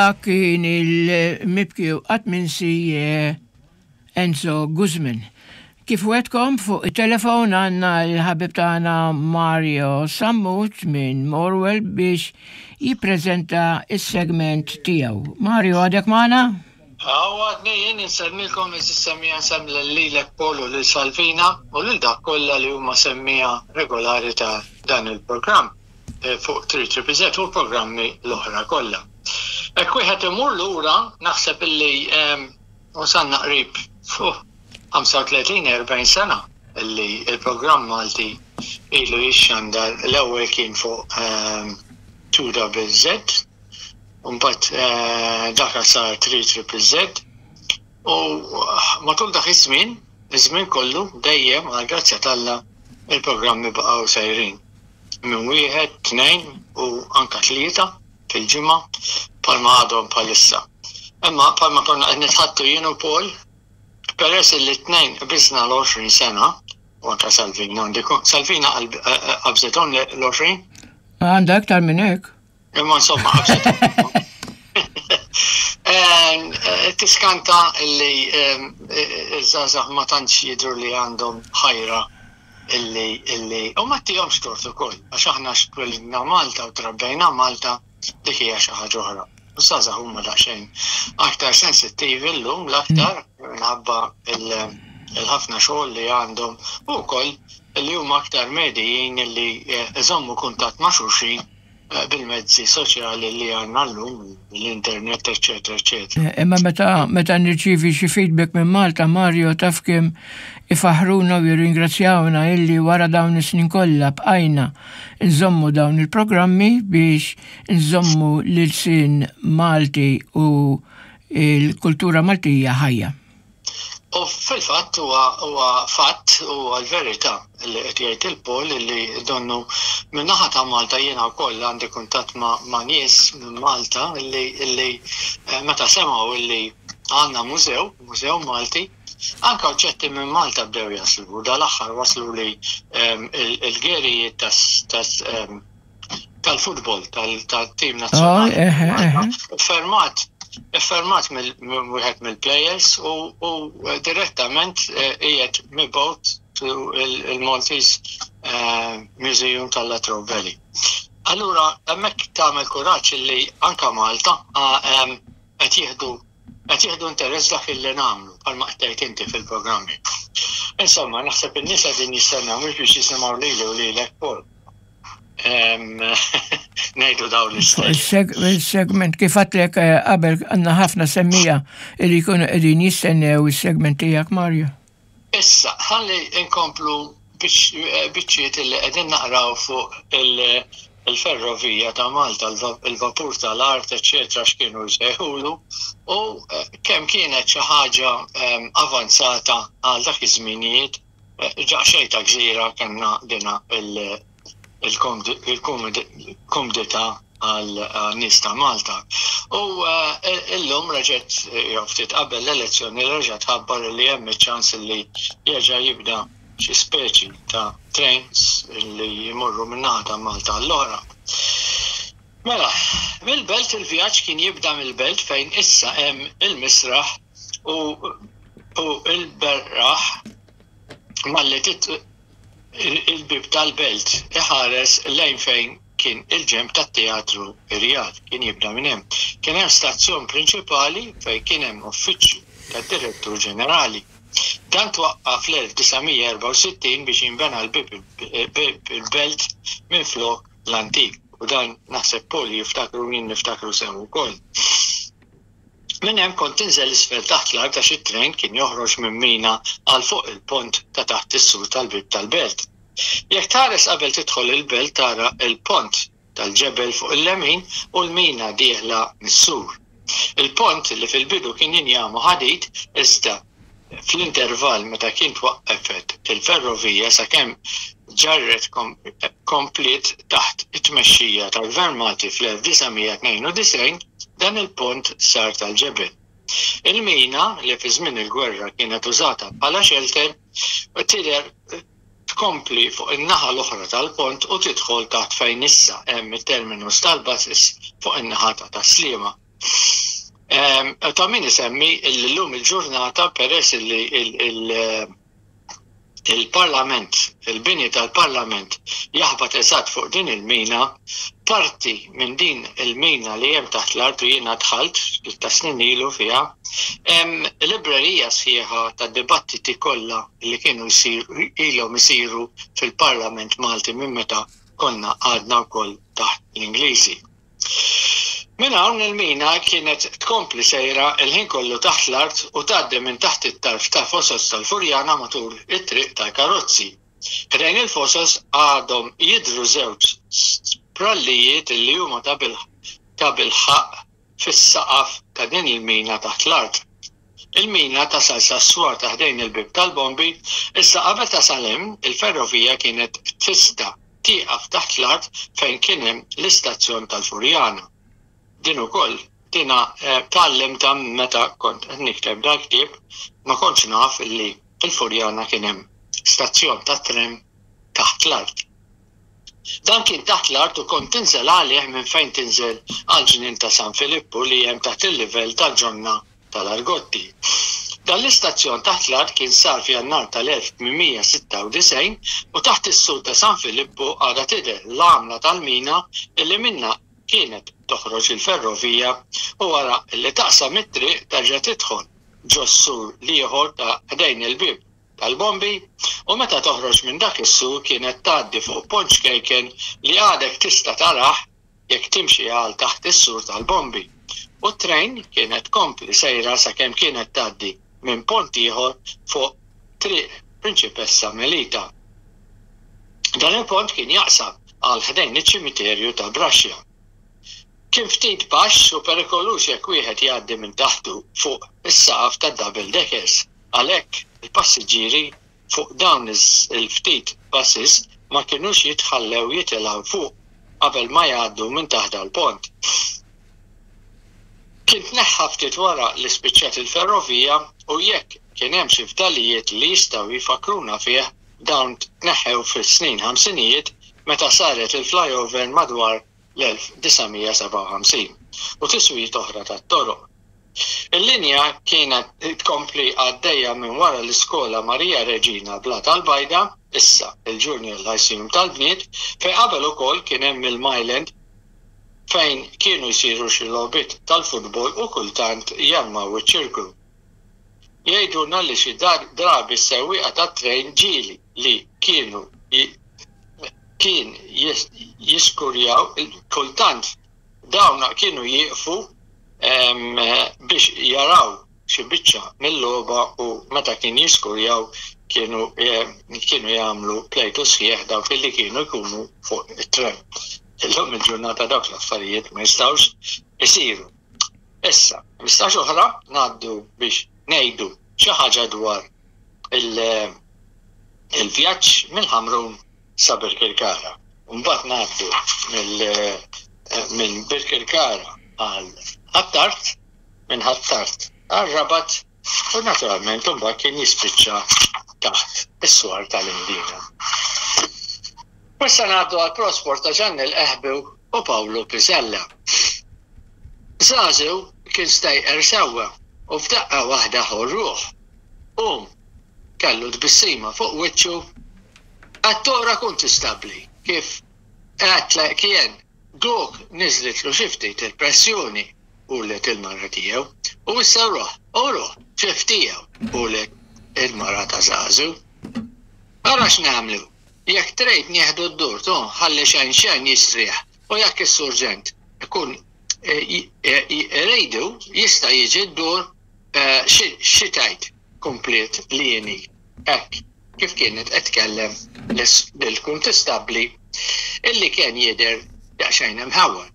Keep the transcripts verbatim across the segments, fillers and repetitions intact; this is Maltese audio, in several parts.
Kien il-mibki u qatt minsi eh, Enzo Guzman. Kif wegħedtkom, fuq il-telefon għandna l-ħabib tagħna Mario Sammut minn Morwell biex jippreżenta il-segment tiegħu. Mario, għadek magħna? Għadni jien insellmilkom, is-semmiegħa, nsellem lilek Paul u lil Salvina u lil dak kollha li huma semmiegħa regolari ta' dan il-programm eh, fuq tlieta Z u l-programmi l-oħra kollha. Jekk wieħed imur lura, naħseb illi wasalna qrib fuq ħamsa u tletin erbgħin sena illi il-programm Malti ilu jixxandar. L-ewwel kien fuq two Z, mbagħad eh, dak sar tlieta Z, u matul dak iż-żmien, iż-żmien kollu dejjem għal grazzja t'Alla il-programmi baqgħu sejrin. Minn wieħed, tnejn u anka tlieta fil-ġimgħa bħalma għadhom bħalissa. Imma bħalma konna qed nitħaddtu jien u Paul, peress li t-tnejn qbiżna l-għoxrin sena, u anka Salvina, għandi Salvina qabżithom l-għoxrin? Għandha aktar minn hekk. Imma insomma, qabżithom. Tiskanta li iż-żgħażagħ ma tantx jidhru li għandhom ħajra illi illi u ma ttihomx tort ukoll, għax aħna twelidna Malta u trabbejna Malta, dik hija xi ħaġa oħra. U żgħażagħ huma daqsxejn aktar sensittivi llum, l-aktar minħabba il-ħafna xogħol li għandhom u wkoll li huma aktar medijin li iżommu kuntatt ma' xulxin bil-mezzi soċjali li għandna llum, l-internet, eccetera, eccetera. Imma meta meta nirċivi xi feedback minn Malta, Mario, taf kemm ifaħruna u jirringrazzjawna illi wara dawn is-snin kollha bqajna nżommu dawn il-programmi biex nżommu l-ilsien Malti u il-kultura Maltija ħajja. U fil-fatt huwa huwa fatt u l-verità li qed jgħid il-Paul li donnu min-naħa ta' Malta jiena wkoll għandi kuntatt ma', ma' nies minn Malta illi illi eh, meta semgħu illi għandna mużew, mużew Malti, anka oġġetti minn Malta bdew jaslu. U dal-aħħar waslu li ehm, il-gerijiet tas tas ehm, tal-futbol, tal-tim nazzjonali. eħe, eħe. Fermat, fermat mill-wieħed mill-players u, u direttament eh, qiegħed mibgħut to il-Maltese eh, Museum tal-Latrobe Valley. Allura, hemmhekk tagħmel kuraġġ li anka Malta ah, em, qed jieħdu qed jieħdu interess dak illi nagħmlu bħalma qed tgħid inti fil-programmi. Insomma, naħseb in-nies qegħdin jistennew mhux biex jisimgħu lili u lilek, Paul. Em, Ngħidu dawn l-istejjer. Il-segment, kif għedtlek eh, qabel, għandna ħafna semmiegħa li jkunu qegħdin jistennew il-segment tiegħek, Mario. Issa, ħalli inkomplu biċ- biċċiet li qegħdin naqraw fuq il- il-ferrovija ta' Malta, il-vapur tal-art, eccetera, x'kienu jsejħulu, u eh, kemm kienet xi ħaġa em, avanzata għal dak iż-żminijiet, eh, ġaqxejn ta' gżira kellna dina il- il-kumdità għal nies ta' Malta. U eh, illum reġgħet, jew ftit qabel l-elezzjoni, reġgħet ħabbar li hemm iċ-ċans li jerġa' jibda xi speċi ta' trains li jmorru minn ta' Malta għall-oħra. Mela, mill-belt, il-vjaġġ kien jibda mill-belt fejn issa hemm il-misraħ u, u il-berraħ malli tit il-bib tal-belt iħares lejn fejn kien il-ġenb tat-teatru Irjad, kien jibda minn hemm. Kien hemm stazzjon prinċipali fejn kien hemm uffiċċju tad-direttur ġenerali. Dan twaqqaf fl-elf disa' mija erbgħa u sittin biex jinbena l-bib il-belt minn flok l-antik. U dan naħseb Paul jiftakru, jien niftakru sew ukoll. Minn hemm kont tinżel isfel taħt l-art għax it-tren kien joħroġ minn mina għal fuq il-pont ta' taħt is-sur tal-bib tal-belt. Jekk tħares qabel tidħol il-belt, tara il-pont tal-ġebel fuq il-lemin u l-mina dieħla mis-sur. Il-pont li fil-bidu kien injam u ħadid, iżda fl-intervall meta kien twaqqefet il-ferrovija sakemm ġarret komplet taħt it-tmexxija tal-Gvern Malti fl-elf disa' mija tnejn u disgħin, dan il-pont sar tal-ġebel. Il-mina li fi żmien il-gwerra kienet użata bħala shelter tidher tkompli fuq in-naħa l-oħra tal-pont u tidħol taħt fejn issa hemm it-terminus tal-buses fuq in-naħa ta' Tas-Sliema. Ta' min isemmi llum il-ġurnata, peress li il-Parlament, il-bini tal-Parlament jaħbat eżatt fuq din il-mina, parti minn din il-mina li hemm taħt l-art, u jiena dħalt ta' snin ilu fiha, hemm librerija sħiħa ta' dibattiti kollha li kienu jsiru, ilhom isiru fil-Parlament Malti minn meta konna għadna wkoll taħt l-Ingliżi. Minn hawn il-mina kienet tkompli sejra il-ħin kollu taħt l-art u tgħaddi minn taħt it-tarf ta' fosos tal-Furjana matul it-triq tal-karozzi. Ħdejn il-fosos għadhom jidhru żewġ sprallijiet li huma ta' bilħaqq fis-saqaf ta' din il-mina taħt l-art. Il-mina tasal sas-swar ta' ħdejn il-bieb tal-bombi, issa qabel tasal hemm il-ferrovija kienet tista' tieqaf taħt l-art fejn kien hemm l-istazzjon tal-Furjana. Din ukoll dina tgħallimtha meta kont qed nikteb dal-ktieb, ma kontx naf li fil-Furjana kien hemm stazzjon ta' tren taħt l-art. Dan kien taħt l-art u kont tinżel għalih minn fejn tinżel għal-ġnien ta' San Filippu li hemm taħt il-livell tal-ġonna tal-Argotti. Dan l-istazzjon taħt l-art kien sar f'Jannar tal-elf tmien mija sitta u disgħin u taħt is-sur ta' San Filippu għadha tidher l-għamla tal-mina illi minna kienet toħroġ il-ferrovija u wara li taqsam it-triq terġa' tidħol ġos-sur l-ieħor ta' ħdejn il-bieb tal-bombi, u meta toħroġ minn dak is-sur kienet tgħaddi fuq pont ċkejken li għadek tista' tarah jekk timxi għal taħt is-sur tal-bombi. U t-trejn kienet tkompli sejra sakemm kienet tgħaddi minn pont ieħor fuq triq Prinċipessa Melita. Dan il-pont kien jaqsam għal ħdejn iċ-ċimiterju ta' Braxia. Kien ftit baxx u perikoluż jekk wieħed jgħaddi minn taħtu fuq is-saqaf ta' double deckers. Għalhekk il-passiġġieri fuq dawn il-ftit buses ma kinux jitħallew jitilgħu fuq qabel ma jgħaddu minn taħt dal-pont. Kien tneħħa ftit wara li spiċċat il-ferrovija u jekk kien hemm xi fdalijiet li jistgħu jfakruna fih, dawn tneħħew fis-snin ħamsinijiet meta saret il-flyover madwar l-elf disa' mija sebgħa u ħamsin u tiswijiet oħra tat-toroq. Il-linja kienet tkompli għaddejja minn wara l-iskola Maria Reġina Blat tal-Bajda, issa il-Junior Lyceum tal-Bniet, fejn qabel ukoll kien hemm il-Myland fejn kienu jsiru xi logħbiet tal-futbol u kultant jarmaw iċ-ċirku. Jgħidulna li xi drabi s-sewwieqa tat-trejn ġieli li kienu kien jiskurjaw, kultant dawn kienu jieqfu biex jaraw xi biċċa mill-logħba u meta kien jiskurjaw kienu, kienu jagħmlu plejtu sħiħ dawk li kienu jkunu fuq it-tren. Illum il-ġurnata dawk l-affarijiet ma jistgħux isiru. Issa, mistax oħra ngħaddu biex ngħidu xi ħaġa dwar il-vjaġġ mill-Ħamrun sa Birkirkara. Mbagħad ngħaddu minn Birkirkara għal Ħ'Attard, minn Ħ'Attard għal Rabat u naturalment mbagħad kien jispiċċa taħt is-swar tal-Imdina. Issa ngħaddu għal Prosport ta' Ġanni l-Qehbi u Pawlu Pisella. Żagħżugħ kien stejqer sewwa u f'daqqa waħda ħorruh. Qum, kellu tbissima fuq wiċċu. Għat-tora kuntistabbli kif għat kien dok niżlitlu xi ftit il-pressjoni u let il-mara tiegħu u issa ruħ, u ruħ, ċef tiegħu u let il-mara ta' żagħżugħ. Ara x'nagħmlu, jekk trid nieħdu d-dur tu ħalli xejn xejn jistrieħ u jekk is-surġent ikun rejdu jista' jiġi d-dur xi tgħid komplet li jieni hekk kif kienet qed tkellem lill-kuntistabbli illi kien jidher daqsxejn imħawwad.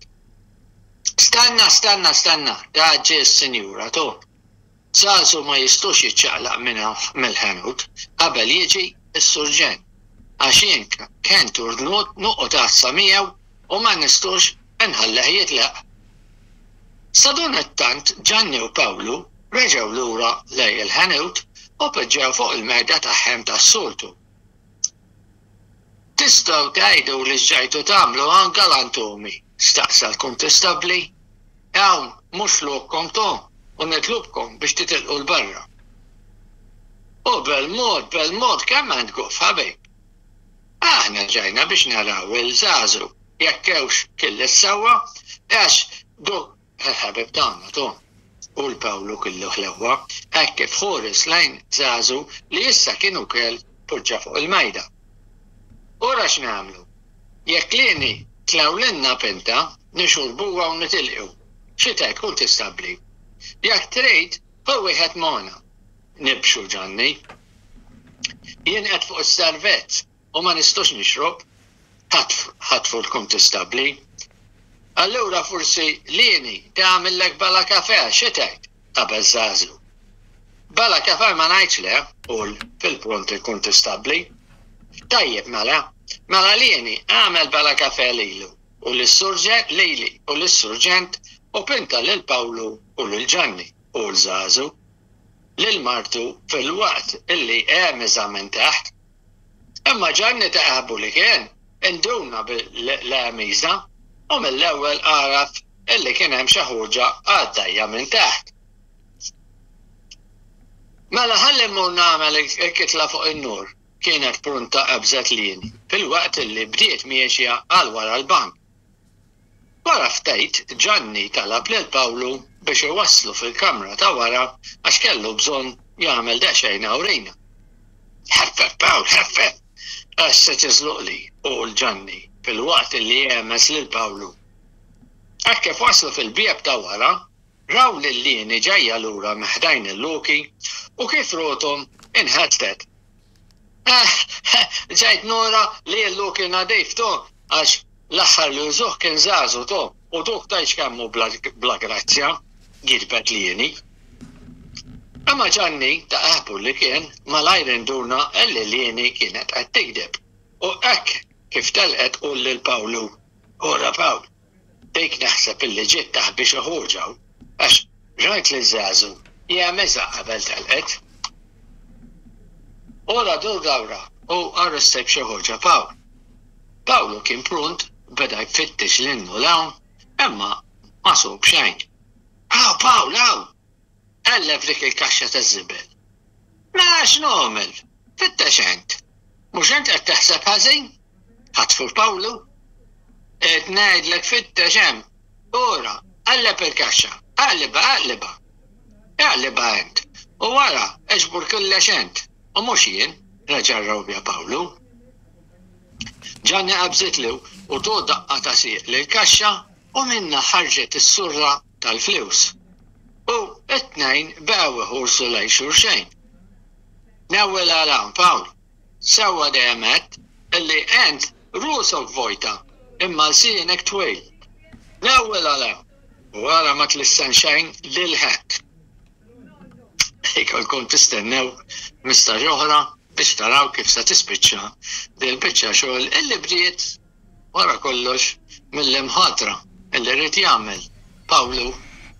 Stanna, stanna, stanna, da ġie s-sinjura tu. Żagħżugħ ma jistux jiċċaqlaq minn mill-ħanut qabel jiġi s-surġent. Għax jien kien turnut noqgħod għassa miegħu u ma nistux nħalleh jitlaq. Sadanittant Ġanni u Pawlu reġgħu lura lejn il-ħanut u poġġew fuq il-mejda tagħhom tas-soltu. Tistgħu tgħidu li x'ġejtu tagħmlu hawn galantumi, staqsa l-kuntistabbli. Hawn mhux lokkom to u nitlobkom biex titilqu 'l barra. U bil-mod, bil-mod kemm għand goff ħabib. Aħna ġejna biex naraw il-żagħżugħ jekk hewx kiel sewwa għax duk il-ħabib tagħna to. U l-Pawlu kollu ħlewwa hekk kif ħares lejn żagħżugħ li issa kienu kell poġġa fuq il-mejda. Ora x'nagħmlu? Jekk Lieni tlewlilna pinta, nixorbuha u nitilqu. Xi tgħid kuntistabbli? Jekk trid, ħu wieħed magħna. Nibxu Ġanni. Jien qed fuq is-servezz u ma nistax nixrob. Ħatfu l-kuntistabbli. Allura forsi Lieni tagħmillek bala kafè, xi tgħid? Qabeż żagħżugħ. Bala kafè ma ngħidx le, qal fil-pront il-kuntistabbli. Tajjeb mela, mela Lieni għamel bala kafè lilu u lis-surġent lili u lis-surġent u pinta lil Pawlu u lil Ġanni u l-żagħżugħ lil martu fil-waqt illi għemiżha minn taħt. Imma Ġanni taħbu li kien induna bil-għemiża u mill-ewwel għaraf illi kien hemm xi ħuġa għaddejja minn taħt. Mela ħalli mmur nagħmel il-kitla fuq in-nur kienet pronta qabżet Lieni fil-waqt illi bdiet miexja għal wara l-bank. Wara ftit Ġanni talab lil Pawlu biex iwasslu fil-kamra ta' wara għax kellu bżonn jagħmel daqsxejn awrina. Ħeffef Pawl, ħeffef! Għax se tiżluqli qal Ġanni fil-waqt li għemeż lil Pawlu. Hekk kif waslu fil-bieb ta' wara, raw lil Lieni ġejja lura minn ħdejn il-loki u kif rathom inħasdet. Ġejt nura li l-loki nadif to għax l-aħħar li użah kien żagħżugħ to u duk tgħidx kemm hu bla grazzja, gidbet Lieni. Imma Ġanni ta' aħbu li kien malajr induna illi Lieni kienet qed tigdeb. U hekk kif telqet qal lil Pawlu, Ora Pawl, dik naħseb illi ġiet taħbi xi ħuġa għax rajt li żagħżugħ jagħmeżha qabel telqet. Ora dur dawra u arrestek xi ħuġa Pawl. Pawlu kien pront beda jfittex 'l hinn u 'l hawn, imma ma sab xejn. Aw, Pawl, aw! Qalleb dik il-kaxxa taż-żibel. Mela x'nagħmel? Fittex ent. Mhux ent qed taħseb ħażin? Ħatfu Pawlu. Qed ngħidlek fittex hemm. Ora, qalleb il-kaxxa. Aqlibha, aqlibha. Aqlibha ent. U wara, eġbur kollox ent. U mhux jien, reġa' rrabja Pawlu. Ġanni qabżitlu u ta daqqa ta' sieq lil kaxxa u minna ħarġet is-surra tal-flus. U it-tnejn baqgħu iħarsu lejn xulxejn. Newwel għal Pawl, sewwa dejjem għedt illi ent rusok vojta imma lsienek twil. Newwel għal u wara ma tlissen xejn lil ħadd. Ikolkom tistennew mistaġ oħra biex taraw kif se tispiċċa dil-biċċa xogħol illi bdiet wara kollox mill-imħatra illi ried jagħmel Pawlu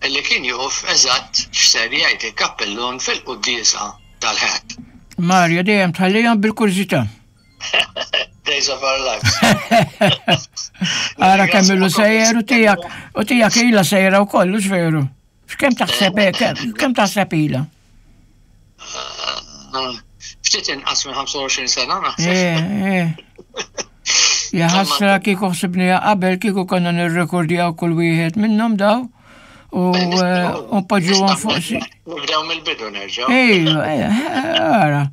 illi kien jaf eżatt x'ser jgħid il-kappellun fil-quddiesa tal-Ħadd. Mario, dejjem tħallihom bil-kurżità. Days of our lives. Ara kemm ilu sejjer u tiegħek u tiegħek ilha sejra wkoll, hux veru? X'kemm taħseb kemm taħseb ilha? Ftit inqas minn ħamsa u għoxrin sena naħseb. Eh, eh. Ja ħasra kieku ħsibniha qabel kieku konna nirrekordjaw kull wieħed minnhom daw u eh, u npoġġuhom fuq si. Nibdew mill-bidu nerġgħu. Ejju, ara.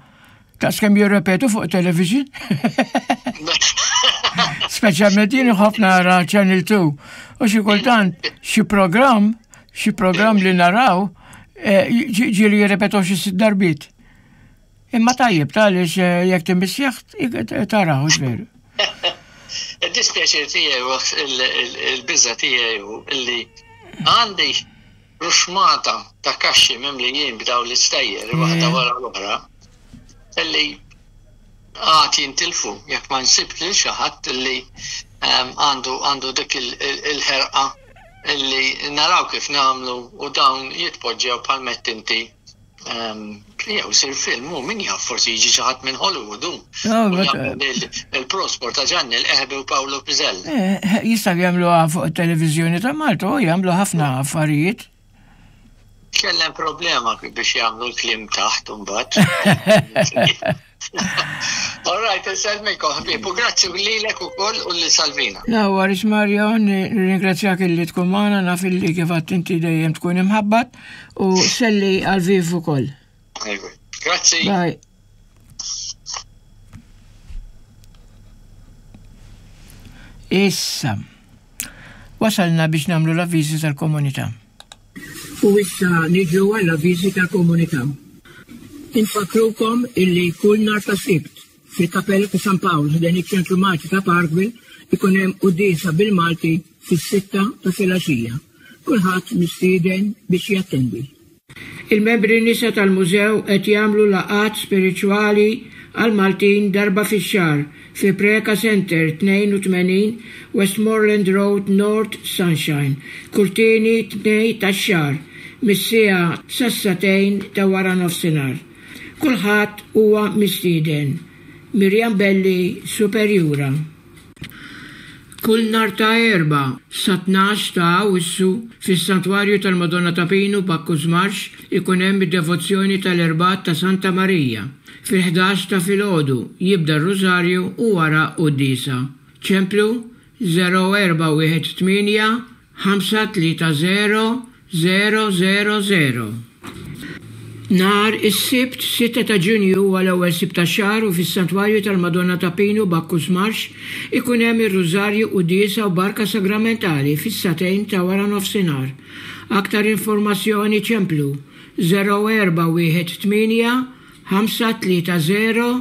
Taf kemm jirrepetu fuq television. Speċjalment jien ħafna nara Channel two. U xi kultant xi programm, xi programm li naraw, eh, ġieli jirrepetu xi sitt darbiet. Imma tajjeb għaliex jekk timmissjah taraw veru. Il-dispjaċir tiegħi u il-biża tiegħi hu illi għandi ruxmata ta' kaxxi mimlijin b'daw l-istejjer waħda wara l-oħra illi għad jintilfu jekk ma nsib lil xi ħadd illi ehm, għandu għandu dik il-ħerqa illi naraw kif nagħmlu u dawn jitpoġġew bħal inti Jew sir film, u min jaf forsi jiġi xi ħadd minn Hollywood. Il-prosport ta' Ġanni l-Eħbi u Paolo Pizzell. Eh, jistgħu jagħmluha fuq it-televiżjoni ta' Malta u jagħmlu ħafna affarijiet. Kellem problema biex jagħmlu l-kliem taħt imbagħad. All right, insellmilkom ħbieb u grazzi lilek ukoll u lil Salvina. No worries Mario, nirringrazzjak illi tkun magħna naf illi kif għedt inti dejjem tkun imħabbat u selli għal Viv ukoll. Grazzi. Bye. Issa, wasalna biex nagħmlu l-avviżi tal-komunità. U issa niġu għall-avviżi tal-komunità. Infakrukom illi kull nhar ta' Sibt fil-Kapella ta' San Pawl ħdejn iċ-Ċentru Malti ta' Parkville ikun hemm quddiesa bil-Malti fis-sitta ta' filgħaxija. Kulħadd mistieden biex jattendi. Il-membri nisa tal-mużew qed jagħmlu laqgħat spiritwali għal Maltin darba fix-xahar fi Preka Center tnejn u tmenin Westmoreland Road North Sunshine, kull tieni tnejn tax-xahar mis-siegħa sas-sagħtejn ta' wara nofsinhar. Kulħadd huwa mistieden. Miriam Belli, Superjura. Kull nhar ta' Erbgħa sa tnax ta' Awwissu fis-Santwarju tal-Madonna ta' Pinu Bacchus Marsh ikun hemm id-devozzjoni tal-Erbgħat ta' Santa Marija. Fil-ħdax ta' filgħodu jibda r-Rużarju u wara quddiesa. Ċemplu żero erba' wieħed tmienja ħamsa tlieta żero żero żero żero. Nhar is-Sibt sitta ta' Ġunju huwa l-ewwel Sibt tax-xahar u fis-Santwarju tal-Madonna ta' Pinu Bacchus Marsh ikun hemm ir-Rużarju quddiesa u barka sagramentali fis-sagħtejn ta' wara nofsinhar. Aktar informazzjoni ċemplu żero erba' wieħed tmienja ħamsa tlieta żero